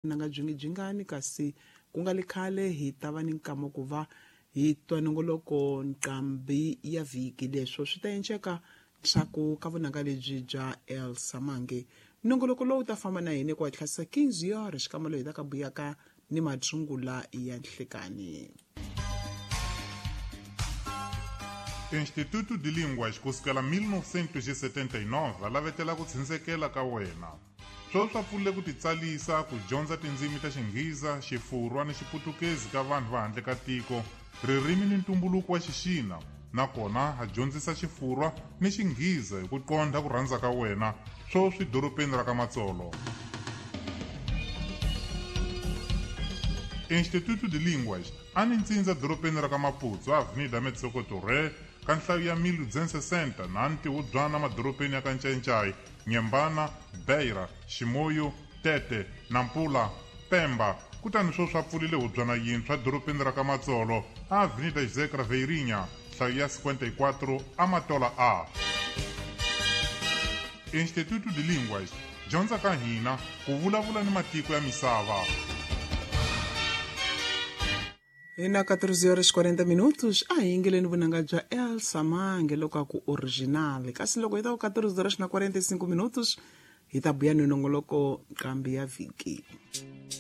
Vunanga byi byingani kasi ku nga le khale hi ta va ni nkama ku va hi twa nongoloko nqambi ya vhiki. Leswo swi ta enceka ndzhaku ka vunanga lebyi bya Elsa Mange. Nongoloko lowu ta famba na hina ku hatlisa 15 yore xikamelo hi ta ka buyaka ni mathungula ya nhlekani. Instituto de Línguas ku sukela 1979 va lavetela ku tshindzekela ka wena. Sweswi va pfulile ku titsalisa ku dyondza tindzimi ta Xinghiza, Xifurwa ni Xiputukezi ka vanhu va handle ka tiko, ririmi ni ntumbuluko wa Xixina, nakona ha dyondzisa Xifurwa ni Xinghiza hi ku qondha ku rhandza ka wena, sweswi dorobeni ra ka Matsolo. Instituto de Línguas a ni ntsindza dorobeni ra ka Maputo, Avenida Metsoco Torre, ka nhlayo ya 1260 na ntiwubyana madorobeni ya ka Ncayincai, Nyembana, Beira, Ximoyo, Tete, Nampula, Pemba, kutani sweswi a pfulile hubyana yintshwa dorobeni ra ka Matsolo, Avenida José Craveirinha, nhlayo ya 54 Amatola A. Instituto de Línguas, dyondza ka hina ku vulavula ni matiko ya misava. Hi na 14 horas 40 minutos a hi yingeleni vunanga bya Elsa Mange loko a ku original, kasi loko hi ta ku 14 horas na 45 minutos hi ta buya ni nongoloko nqambi ya vhiki.